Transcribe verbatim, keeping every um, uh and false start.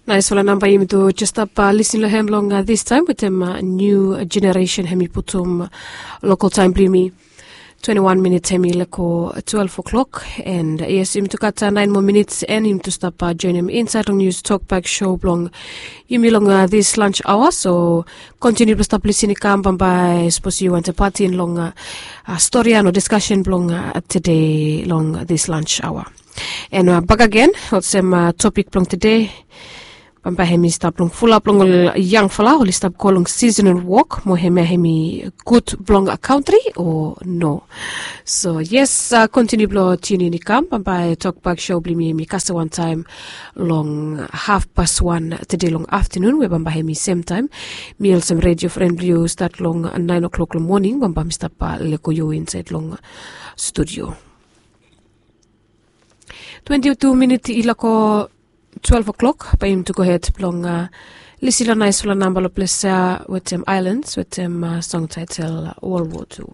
Naisfala namba yumi tu jes stap lisin long hem long distaem wetem niu jeneresen hem i putum lokal taem blong yumi. Twenti wan minit hem i leko twelef oklok. And yes, yumi tu gat naen moa minit, and yumi tu stap joenem insaed long nius tokbak show blong yumi long dis lans aoa. So kontiniu blong stap lisin i kam bambae sapos yu wantem patin long stori ya no diskasen blong tede long dis lans aoa. And bak agen olsem topik blong tede, bambae hem i stap long fulap long ol yangfala oli stap go long sisenal wok mo hemia hem i gud blong kantri o no? So yes, kontiniu blong tiunin i kam bambae tokbak show blong yumi hem i kasem wantaem long hafpas wan tede long aftanun we bambae hem i semtaem mi olsem redio fren blong yu stat long naen oklok long moning bambae mi stap leko yu insaed long studio. Twenti tu minit i lako twelef oklok bae yumi tu gohed blong lisin long naisfala namba long ples ya wetem aelans wetem song taetel wol wo tu.